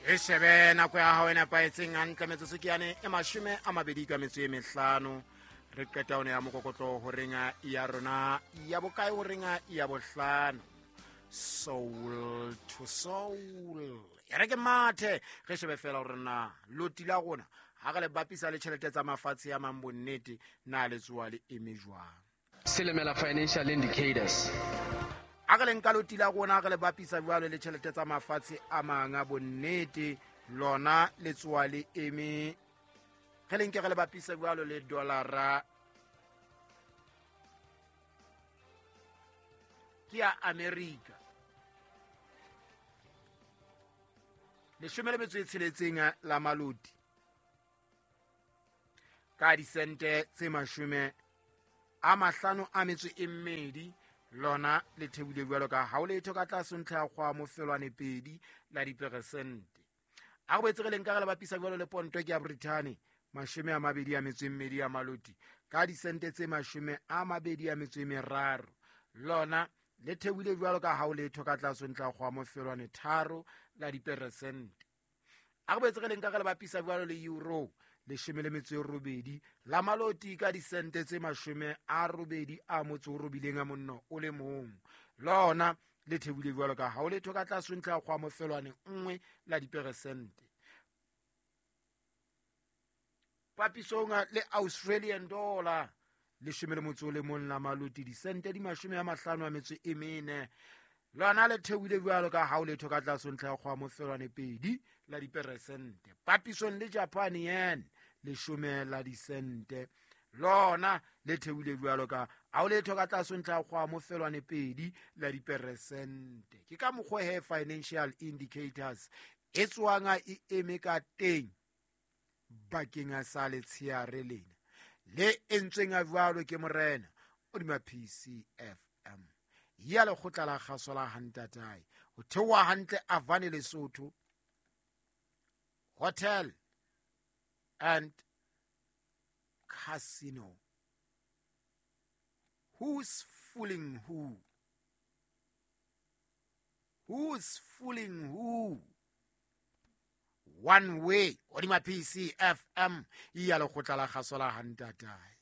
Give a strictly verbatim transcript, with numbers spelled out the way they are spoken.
E shebe nako ya hao e nepahetseng hantle metsotso ke yane e mashome a mabedi ka metso e mehlano. Re qeta one ya mokokotlo horeng ya rona ya bokae horeng ya bohlano. Soul to soul. E re ke mathe re shebe fela hore na loti la rona ha re le bapisa le tjhelete tsa mafatshe a mang bonnete na le tsoa le eme jwang. Silimela Financial Indicators. A re le nka loti la rona re le bapisa jwalo le tjhelete tsa mafatshe a mang a bonnete lona le tsoa le eme re le nke re le bapisa jwalo le dollara ke ya America. Leshome le metso e tsheletseng la maloti ka disente tse mashome a mahlano a metso e mmedi lona le theohile jwalo ka ha o letho ka tlase ntlha ya kgwa mofelwane pedi la diperesente. A re boetse re le nka re le bapisa jwalo le ponto ke ya Britain mashome a mabedi a metso e mmedi ya maloti ka disente tse mashome a mabedi a metso e meraro lona le theohile jwalo ka ha o letho ka tlase ntlha ya kgwa mofelwane tharo la diperesente. A re boetse re le nka re le bapisa jwalo le euro leshome le metso e robedi la maloti ka disente tse mashome a robedi a motso o robileng a monno o le mong lona le theohile jwalo ka ha o letho ka tlase ntlha ya kgwa mofelwane nngwe la diperesente. Papisong le Australian dollar leshome le motso o le mong la maloti disente di mashome a mahlano a metso e mene lona le theohile jwalo ka ha o letho ka tlase ntlha ya kgwa mofelwane pedi la diperesente. Papisong le Japan yen leshome la disente lona le theohile jwalo ka ha o letho ka tlase ntlha ya kgwa mofelwane pedi la diperesente. Ke ka mokgwa he financial indicators e tswang e eme ka teng bakeng sa letsheare lena le entsweng a jwalo ke morena hodima P C F M ya lekgotla la kgaso la Hantatae ho theoha hantle Avane Lesotho Hotel and Casino. Who's fooling who? Who's fooling who? One way hodima P C F M ya lekgotla la kgaso la Hantatae.